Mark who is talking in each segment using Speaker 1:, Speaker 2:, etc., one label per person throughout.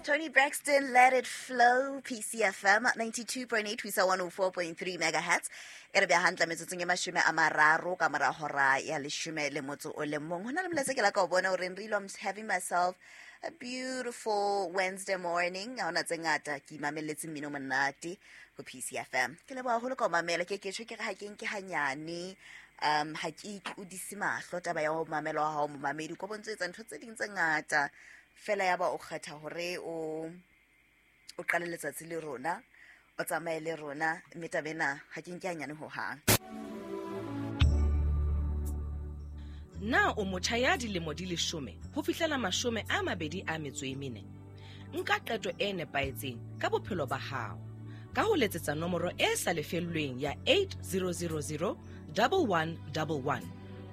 Speaker 1: Toni Braxton, Let It Flow, PCFM 92.8 ho isa 104.3 megahertz. E re beha hantle metsotsong e 30 ka mora hora ya 11. Ho na le molaetsa ke la ka o bona o reng re I'm having myself a beautiful Wednesday morning. Ha hona tse ngata ke imamelletse mmino monate ho PCFM. Ke leboha haholo ka o mamela, ke ke tjho ke re ha ke nke hanyane, ha ke itlodise mahlo taba ya ho mamela wa hao momamedi, ko bontse etsa ntho tse ding tse ngata fela ya ba o kgetha hore o qale letsatsi le rona, o tsamaye le rona, mme taba ena ha ke nke hanyane hohang.
Speaker 2: Na o motjha ya dilemo di 10 ho fihlela 24? Nka qeto e nepahetseng ka bophelo ba hao ka ho letsetsa nomoro e sa lefellweng ya 8000 1111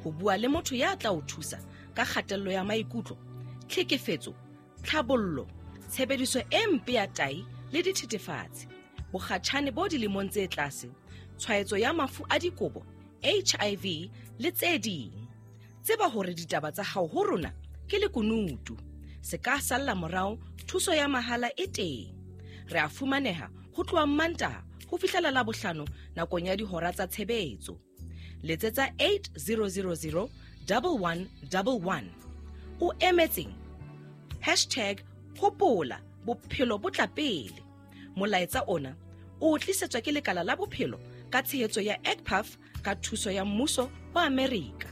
Speaker 2: ho bua le motho ya tla o thusa ka kgatello ya maikutlo, tlhekefetso, tlhabollo, tshebediso e mpe ya tai le dithethefatsi, bokgatjhane bo dilemong tse tlase, tshwaetso ya mafu a dikobo, HIV le tse ding. Tseba hore ditaba tsa hao ho rona ke lekunutu. Se ka salla morao, thuso ya mahala e teng. Re a fumaneha ho tloha Mantaha ho fihlela Labohlano nakong ya dihora tsa tshebetso. Letsetsa 8000 1111. O emetseng? Hashtag hopola bophelo bo tla pele. Molaetsa ona o tlisetswa ke lekala la bophelo ka tshehetso ya EGPAF ka thuso ya mmuso wa Amerika.